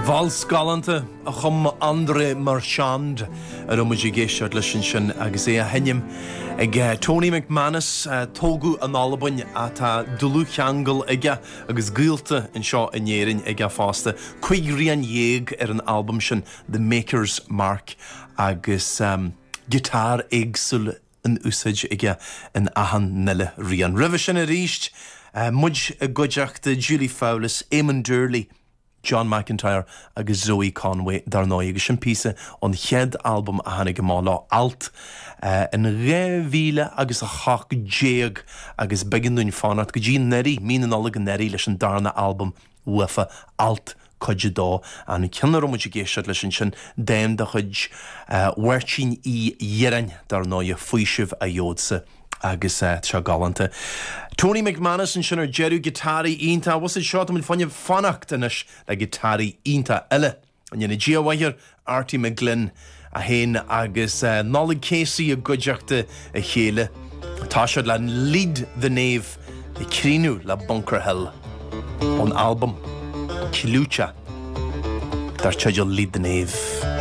Vals galánta a chum André Marchand a raibh muid ag éisteacht leis ansin agus é á sheinm ag Tony McManus, tógadh in Albain ach tá dlúthcheangal aige agus gaolta anseo in Éirinn aige fosta. 15 rian ar an albam sin, The Maker's Mark, agus giotár éagsúil in úsáid aige in achan uile rian. Roimhe sin arís, muid i gcuideachta Julie Fowlis, Eamon Doorley, John McIntyre agus Zoe Conway dar ndóigh, agus sin píosa ón chéad albam a tháinig amach leo, Alt, in 2000 agus 18 agus b'éigean dúinn fanacht go dtí anuraidh, mí na Nollag anuraidh leis an darna albam uafa, Alt Cuid 2. An ceann a raibh muid ag éisteacht leis ansin, dán de chuid Mháirtín Uí Dhireáin, dar ndóighe, Faoiseamh a Gheobhadsa, agus tá sé galánta. Tony McManus ansin ar deireadh, giotáraí iontach. Bhfuil a fhios agat seo, tá muid fá choinne fanacht anois le giotáraí iontach eile. Go ndéana Dia a mhaith air, Arty McGlynn, é féin agus Nollaig Casey i gcuideachta a chéile. Tá siad le Lead the Nave ag críochnú le Bunker Hill ón albam clúiteach dar teideal Lead the Nave.